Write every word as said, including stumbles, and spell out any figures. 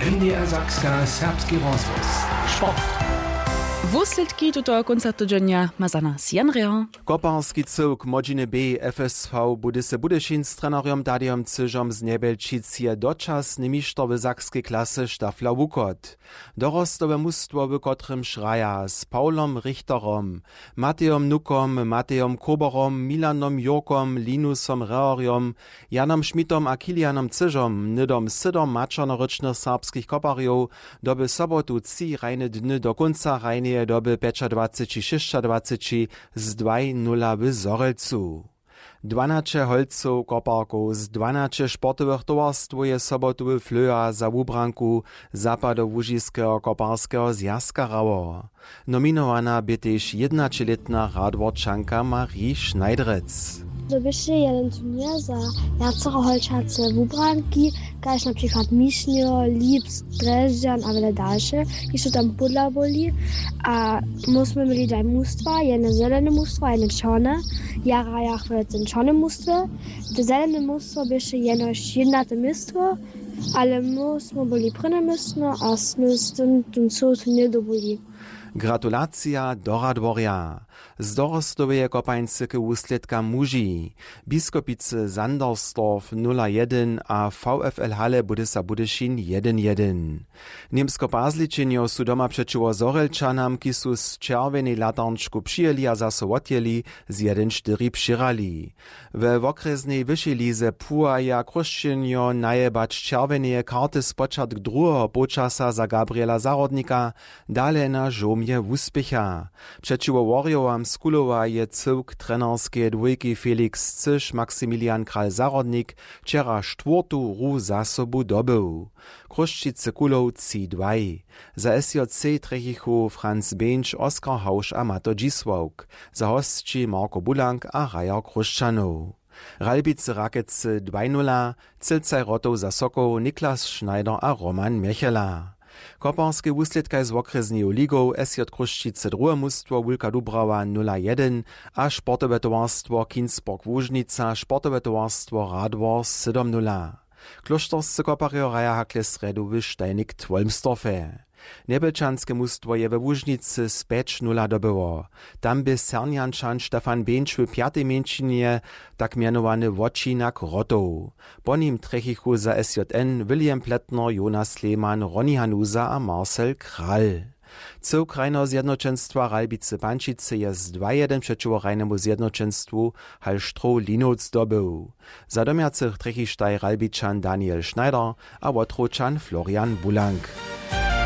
N D R Sakska, serbski rozhłos. Sport. Wuslědki tutoho kónca tydźenja ma za nas Jan Reher. Koparski cyłk młodźiny B F S V Budyšin z trenerjom Tadejom Cyžom z Njebjelčic je dočasny mišter w sakskej klasy Stafla Wuchod. Dorostowe mustwo, w kotrymž hraja z Pawlom Richterom, Matejom Nukom, Matejom Koberom, Milanom Jurkom, Linusom Reherjom, Janom Schmidtom a Kilianom Cyžom, hnydom sydom maćernorěčnych serbskich koparjow, doby sobotu tři hrajne dny do kónca hrajneje doby pjećadwaceći šěsćadwaceći z dwaj nula w Zhorjelcu. Dwanaće holcow koparkow z dwanaće sportowych towarstwow je sobotu w Flöha za wubranku Zapadołužiskeho koparskeho zwjazka hrało. Nominowana bě tež jědnaćelětna Radworčanka Marie Schneidrec. To běše jeden turněr za wjacere holčace wubranki, kaž na přikład Mišnjo, Lips, Drježdźan a wjele dalše, kiž su tam pódla byli. A my smy měli dwaj mustwa, jedne zelene mustwo a jedne čorne. Ja hrajach w tym čornym mustwje. To zelene mustwo běše jenož jednate městwo, ale my smy byli prěne městno a smy z tym ten cyły turněr dobyli. Gratulacija do Radworja. Z dorostoweje kopańcy k wuslědkam muži. Biskopicy Sandersdorf nula jedyn a V F L Halle Budysa Budyšin jedyn jedyn. Němsko pazličenjo su doma přećiwo Zhorjelčanam, kiž su z čerwjenej latarnčku přijěli a zaso wotjěli, z jedyn štyri přěhrali. We wokrjesnej wyšej lize płuwaja Chrósćenjo najebać čerwjeneje karty spočatk druheho połčasa za Gabriela Zahrodnika, dale na žołmje wuspěcha. Přećiwo Worjowam z Kulowa je cyłk trenerskeje dwójki Felix Cyš Maximilian Kral Zahrodnik wčera štwórtu hru za sobu dobył. Chrósćicy Kulow tři dwaj. Za S J C trjechichu Franz Běnč, Oskar Hausch a Mato Dźisławk. Za hosći Marko Bulank a hrajer Chrósćanow. Ralbicy Rakecy dwaj nula, Cylcaj Rotow za Sokoł Niklas Schneider a Roman Mjechela. Koparskej wuslědkaj z wokrjesneju ligow S J Chrósćicy druhe mustwo Wulka Dubrawa nula jedyn a sportowe towarstwo Kinsborg Łužnica sportowe towarstwo Radwor sydom nula. Klóšterscy koparjo hraja hakle srjedu w Steinigk Wolmsdorfje. Njebjelčanske mustwo je we Łužnicy z pjeć nula dobyło. Tam bě Sernjančan Stefan Běnč w pjatej mjeńšinje tak mjenowany wočinak Rotow. Po nim trjechichu za S J N William Plätner, Jonas Lehmann, Ronny Hanusa a Marcel Kral. Cyłk krajneho zjednoćenstwa Ralbicy Pančicy je z dwa jedyn přećiwo krajnemu zjednoćenstwu Hallstrow Linowc dobył. Za domjacych trjechištaj Ralbičan Daniel Schneider a Wotrowčan Florian Bulank.